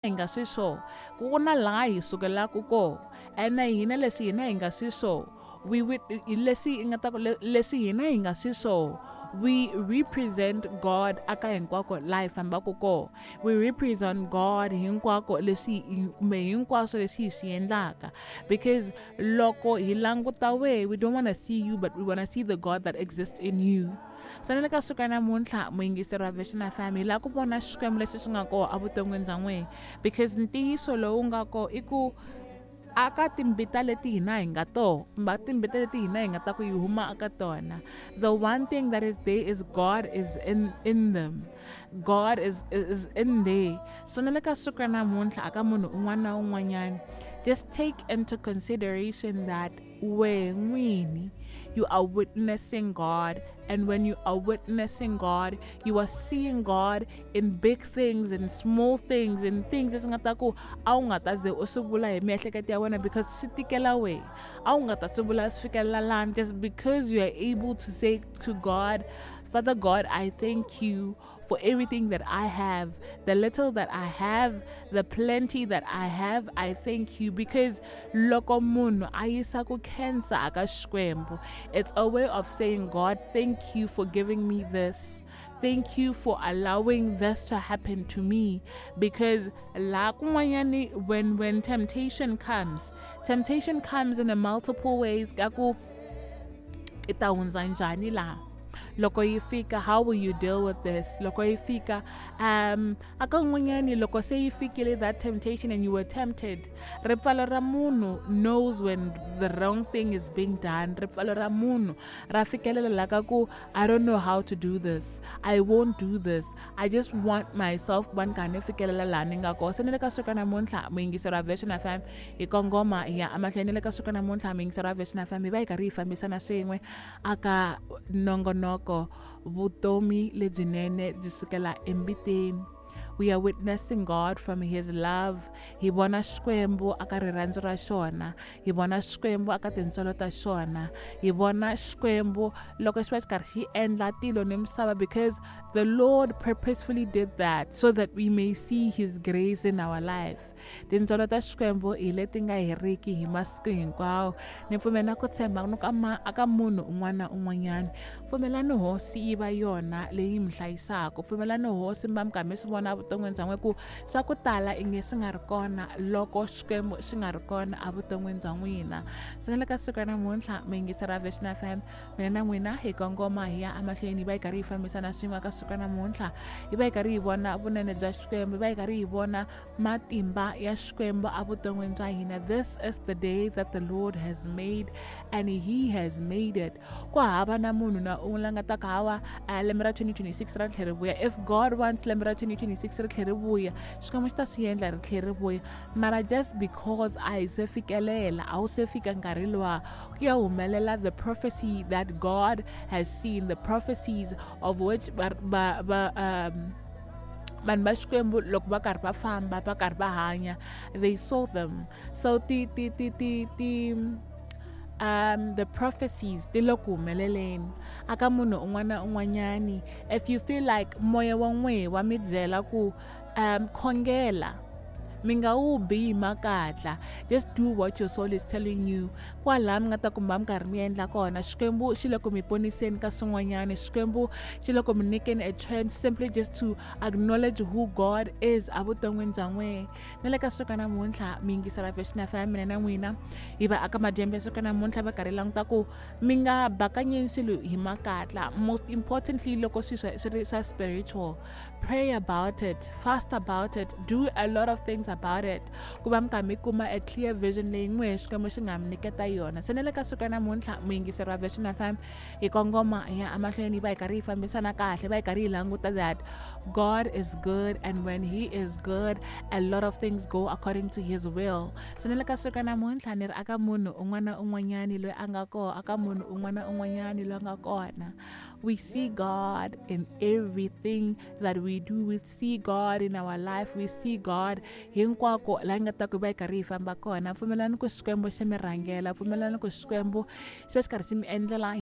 Hi nga swiswo ku na laha hi sukelaka kona, ene hina leswi hina hi nga swiswo, we leswi hi nga ta ku leswi hina hi nga swiswo, we represent God aka hinkwako laha hi fambaka kona. We represent God hinkwako leswi kumbe hinkwaswo leswi hi swi endlaka, because loko hi languta we don't want to see you, but we want to see the God that exists in you. Se na le ka siku ra namuntlha, muyingiseri wa Vision FM, hi lava ku vona Xikwembu lexi xi nga kona evuton'wini bya n'wina, because ntiyiso lowu nga kona i ku aka timbita leti hina hi nga toho, kumbe timbita leti hina hi nga ta ku yi huma aka tona, the one thing that is there is God is in them. God is in there. So na le ka siku ra namuntlha, aka munhu un'wana na un'wanyana, just take into consideration that wehe n'wini you are witnessing God, and when you are witnessing God, you are seeing God in big things, in small things, in things leswi nga ta ku a wu nga ta ze u swi vula hi miehleketo ya wena, because swi tikela wehe, a wu nga ta swi vula swi fikelela lani. Just because you are able to say to God, Father God, I thank you for everything that I have, the little that I have, the plenty that I have, I thank you. Because loko munhu a yisa ku khensa aka Xikwembu, it's a way of saying, God, thank you for giving me this. Thank you for allowing this to happen to me. Because la kun'wanyani, when temptation comes, temptation comes in a multiple ways. Ka ku i ta hundza njhani laha? Loko yi fika, how will you deal with this? Loko yi fika, aka n'wanyani, loko se yi fikile that temptation and you were tempted, ripfalo ra munhu knows when the wrong thing is being done. Ripfalo ra munhu ra fikelela la ka ku, I don't know how to do this, I won't do this, I just want myself ku va ni karhi ni fikelela laha ni nga kona. Se ni le ka siku namuntlha, muyingiseri wa Vision FM, hi kongoma hi ya emahlweni. Ni le ka siku namuntlha, muyingiseri wa Vision FM, hi va hi karhi hi fambisana swin'we aka nongonoko Vutomi Lebyinene Byi Sukela Embiteni. We are witnessing God from his love. Hi vona Xikwembu aka rirhandzu ra xona, hi vona Xikwembu aka tintswalo ta xona, hi vona Xikwembu loko xi va xi karhi xi endla tilo ni misava, because the Lord purposefully did that so that we may see his grace in our life. Tintswalo ta Xikwembu hi leti nga heriki hi masiku hinkwawo. Ni pfumela na ku tshemba ni ka aka munhu un'wana na un'wanyana, pfumelani Hosi yi va yona leyi mi hlayisaka. Pfumelani Hosi mi va mi karhi mi swi vona evuton'wini bya n'wina ku swa ku tala i nge swi nga ri kona loko Xikwembu xi nga ri kona evuton'wini bya n'wina. Se na le ka siku ra namuntlha, muyingiseri wa Vision FM, mina na n'wina hi kongoma hi ya emahlweni, hi va hi karhi hi fambisana swin'we ka siku ra namuntlha, hi va hi karhi hi vona vunene bya Xikwembu, hi va hi karhi hi vona matimba ya Xikwembu evuton'wini bya hina. This is the day that the Lord has made, and he has made it. Ku hava na munhu na un'we la nga ta ka hawa, lembe ra 2026 ra tlhela ri vuya. If God wants lembe ra 2026 ri tlhela ri vuya, Xikwembu xi ta swi endla ri tlhela ri vuya. Mara just because a hi se fikelela, a wu se fika nkarhi luwa ku ya humelela the prophecy that God has seen, the prophecies of which vanhu va Xikwembu loko va karhi va famba, va karhi va hanya, they saw them. So ti ti ti ti ti the prophecies ti le ku humeleleni aka munhu un'wana na un'wanyani. If you feel like moya wa n'wehe wa mi byela ku khongela, mi nga wu bi hi makatla, just do what your soul is telling you. Kwalaha mi nga ta kuma mi karhi mi endla kona, Xikwembu xi le ku mi poniseni ka swin'wanyana, Xikwembu xi le ku mi nyikeni a chance simply just to acknowledge who God is evuton'wini bya n'wehe. Na le ka siku namuntlha, mi yingisela Vision FM, mina na n'wina hi va aka madyambu ya siku namuntlha va karhi languta ku mi nga bakanyeni swilo hi makatla. Most importantly, loko swi swi ri swa spiritual, pray about it, fast about it, do a lot of things about it, ku va mi karhi mi kuma a clear vision leyi n'wehe Xikwembu xi nga mi nyiketa yona. Se na le ka siku ra namuntlha, muyingiseri wa Vision FM, hi kongoma hi ya emahlweni, hi va hi karhi hi fambisana kahle, va hi karhi hi languta that God is good, and when he is good, a lot of things go according to his will. Se na le ka siku ra namuntlha, ni ri aka munhu un'wana na un'wanyani loyi a nga kona, aka munhu un'wana na un'wanyani loyi a nga kona, we see God in everything that we do. We see God in our life. We see God hinkwako la nga ta ku va hi karhi hi famba kona. Pfumelani ku Xikwembu xi mi rhangela, pfumelani ku Xikwembu xi va xi karhi xi mi endlela.